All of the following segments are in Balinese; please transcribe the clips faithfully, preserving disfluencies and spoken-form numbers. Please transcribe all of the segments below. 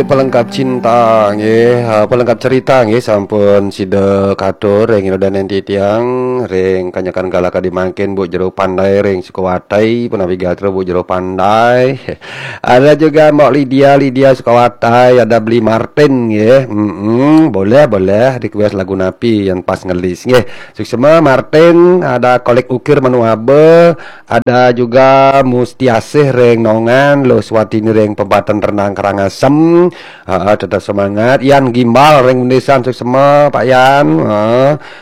Pelengkap cinta nggih, ha, pelengkap cerita nggih, sampun sida katur ring ida dané titiang, ring kanyakan galaka di mangkin, Bu Jero Pandai ring Sukawati, punapi gatra Bu Jero Pandai. Ada juga Mbok Lydia, Lydia Sukawati, ada Bli Martin nggih. Mm-mm, boleh, boleh request lagu napi yang pas ngelis nggih. Suksma Martin, ada Kolik Ukir Manuabe, ada juga Mustiasih ring Nongan, Luh Swatini ring Pebatan Renang Karangasem. Ha, tetap semangat. Yan Gimbal ring Bundesan, suksma Pak Yan. Ha,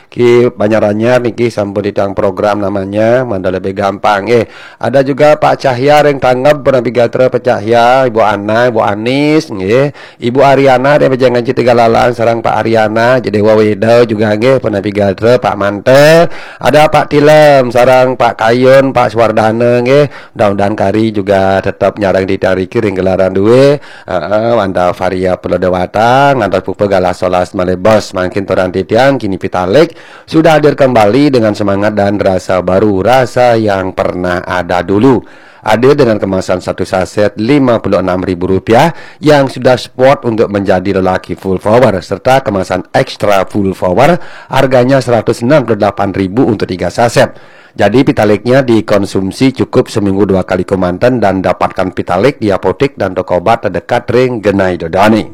ki Banjaranyar niki sampun ditang program namanya, mangda lebih gampang nggih. Ada juga Pak Cahya ring Tangeb, punapi gatra Pak Cahya, Ibu Ana, Ibu Anis nggih. Ibu Ariana ring Pejangan Citi Galalang sareng Pak Ariana, jadi Dewa Weda juga nggih, punapi gatra Pak Mante. Ada Pak Tilem sareng Pak Kayun, Pak Suwardana nggih. Mudah-mudahan kari juga tetap nyarengin titiang riki ring gelaran dua. Heeh, Wanda Varia Pulau Dewata, ngantos Pupa Galah Solas Malebos. Mangkin turan titiang kini Pitalik sudah hadir kembali dengan semangat dan rasa baru, rasa yang pernah ada dulu. Hadir dengan kemasan satu saset lima puluh enam ribu rupiah yang sudah sport untuk menjadi lelaki full power serta kemasan extra full power harganya seratus enam puluh delapan ribu untuk tiga saset. Jadi Pitaliknya dikonsumsi cukup seminggu dua kali kemanten dan dapatkan Pitalik di apotek dan toko obat terdekat ring genah ida dané.